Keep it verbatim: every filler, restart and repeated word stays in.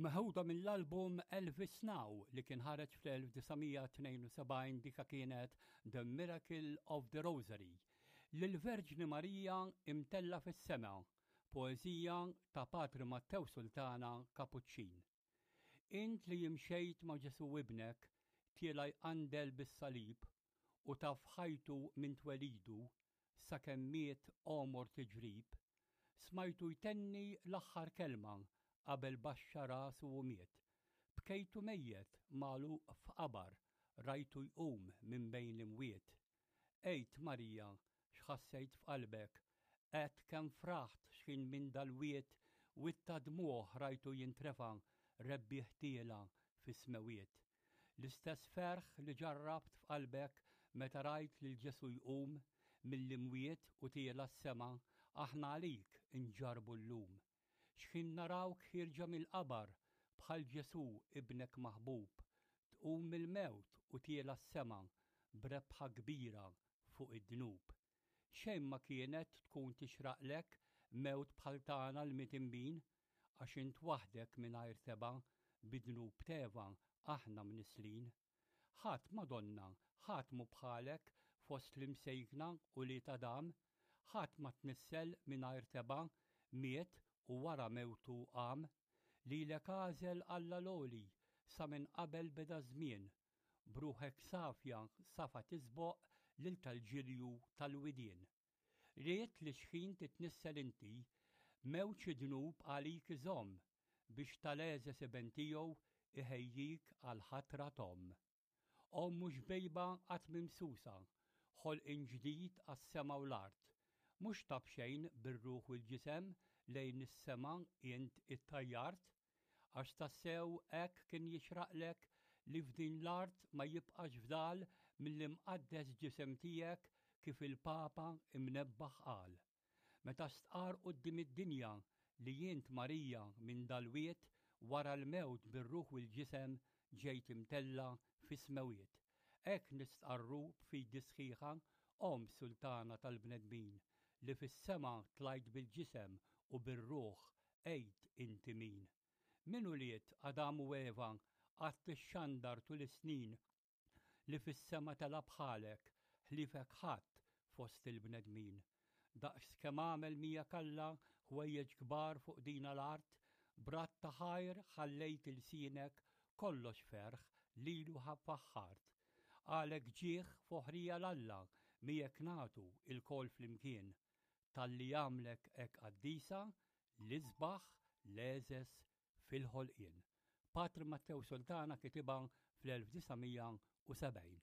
Meħuda mill-album Elvis Now li kien ħareġ fl-elf disa' mija tnejn u sebgħin, dika kienet The Miracle of the Rosary. Lill-Verġni Marija imtella fis-sema, poeżija ta' Patri Mattew Sultana Kapuċċin. Int li jimxejt ma' Ġesu ibnek, tiela jqandel bis-salib u taf ħajtu minn twelidu sakemm miet għomor tiġrib, smajtu jtenni l-aħħar kelma qabel baxxa rasu u miet. Bkejtu mejjet magħluq f'qabar, rajtu jqum minn bejn l-imwiet. Ejt Marija, x'ħassejt f'qalbek, għedt kemm fraħt x'ħin minn dal-wied, witta dmuħ rajtu jintrefa' rebbieħ tiela fis-smewiet. L-istess ferħ li ġarrabt f'qalbek meta rajt lil Ġesu jqum mill-imwiet u tiela s-sema, aħna għalik inġarbu llum. X'ħin narawk ħierġa mill-qabar bħal Ġesu ibnek maħbub, tqum mill-mewt u tiela s-sema b'rebħa kbira fuq id-dnub. Xejn ma kienet tkun tixraqlek mewt bħal tagħna l-mitinbin, għax int waħdek mingħajr teba' bid-dnub teva aħna mnislin. Ħadd Madonna, ħadd mu bħalek fost l-imsejkna u li ta' dam, ħadd ma tnissel mingħajr teba' miet u wara mewtu qam, lilek għażel Alla l-għoli sa minn qabel beda żmien, bruħek safja safa tisboq lil tal-ġilju tal-widien. Ried li xħin titnissel inti, mewġ id-dnub għalik iżomm biex tal-għeżeż iben tiegħu iħejjik għal ħatra t'omm. Omm mhux bejba qatt mimsusa, ħolqien ġdid għas-sema u l-art, mhux ta' b'xejn bir-ruħ u l-ġisem lejn is-sema int ittajjart, għax tassew hekk kien jixraqlek li f'din l-art ma jibqax fdal mill-imqaddes ġisem tiegħek kif il-Papa imnebbaħ qal. Meta stqar quddiem id-dinja li int Marija minn dal-wied wara l-mewt bir-ruħ u l-ġisem ġejt imtella fis-smewiet. Hekk nistqarru b'fidi sħiħa, Omm Sultana tal-bnedmin, li fis-sema tlajt bil-ġisem u bir-ruħ għid inti min. Min ulied Adam u Eva qatt tixxandar tul is-snin li fis-sema tela' bħalek ħliefek ħadd fost il-bnedmin. Daqs kemm għamel miegħek Alla ħwejjeġ kbar fuq din l-art, brat ta' ħajr ħallejt ilsienek kollox ferħ lilu faħħart. Għalek ġieħ foħrija l-Alla miegħek nagħtu il-kol flimkien, talli għamlek hekk qaddisa l-isbaħ l-għeżeż fil-ħolqien. Patri Mattew Sultana kitibha fl-elf disa' mija u sebgħin.